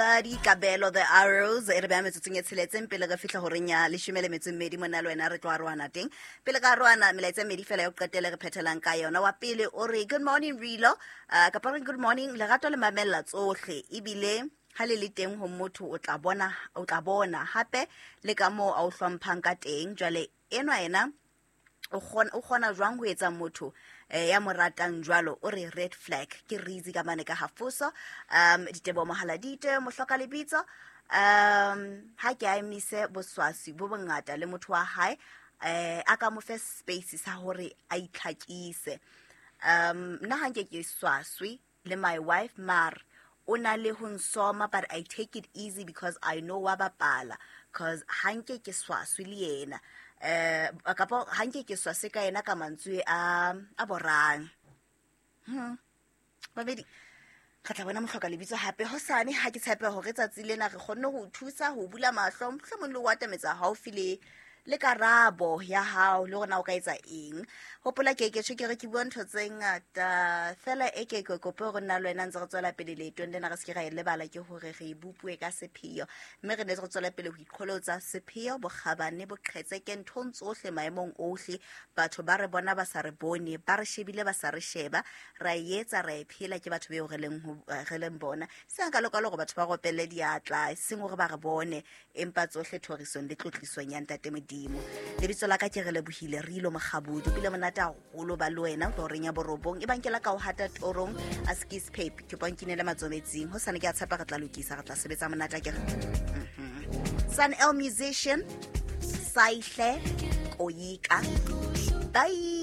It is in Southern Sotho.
Kabelo The Arrows e re beha metsotsong e tsheletseng pele re fihla horeng ya leshome le metso e mmedi. Monna le wena re tlo arohana teng. Pele ka arohana, melaetsa e mmedi fela ya ho qetela re phethelang ka yona. Wa pele o re good morning Rilo, kapa re good morning lerato le mamella tsohle, ebile ha le le teng ho motho o tla bona, o tla bona hape le ka moo a o hlomphang ka teng. Jwale enwa ena o kgona jwang ho etsa motho ya mo ratang jwalo? O re red flag ke reason ka mane ka hafoso. Ditebo mohaladite mohloka lebitso, ha ke a emise boswasi bo bongata le motho wa hae, a ka mo fe space sa hore a itlhakise. Nna ha nke ke swaswe le my wife, mar o na le ho nsoma, but I take it easy because I know wa bapala, cause ha nke ke swaswe le yena, kapa ha nke ke swase ka yena ka mantswe a borang. Babedi re tla bona mohloka lebitso hape hosane. Ha ke tshepe hore tsatsi lena re kgonne ho thusa ho bula mahlo, mohlomong le ho atametsa haufi le karabo ya hao le hore na o ka etsa eng. Hopola ke ke tjho ke re ke bua ntho tse ngata fela, e ke ke kope hore nna le wena ntse re tswela pele leetong lena, re se ke ra e lebala ke hore re e bopue ka sepheo, mme re ne re tswela pele ho iqholotsa sepheo, bokgabane, boqhetseke nthong tsohle, maemong ohle. Batho ba re bona ba sa re bone, ba re shebile ba sa re sheba, ra e etsa, ra e phela, ke batho beo re leng bona. Seng ka lokalo hore batho ba ropelle diatla, seng hore ba re bone, empa tsohle thorisong le tlotlisong ya Ntate Modimo. Lebitso la ka ke re lebohile Rilo Mokgabudi. Pele monate haholo ba le wena ho reng ya borobong e bankela ka ho hata torong a skis pape ke ponkinele matsometsing. Ho sane ke a tshepa re tla lokisa, re tla sebetsa monate ke re. Sun El Musician Saihle Koyika. Bye.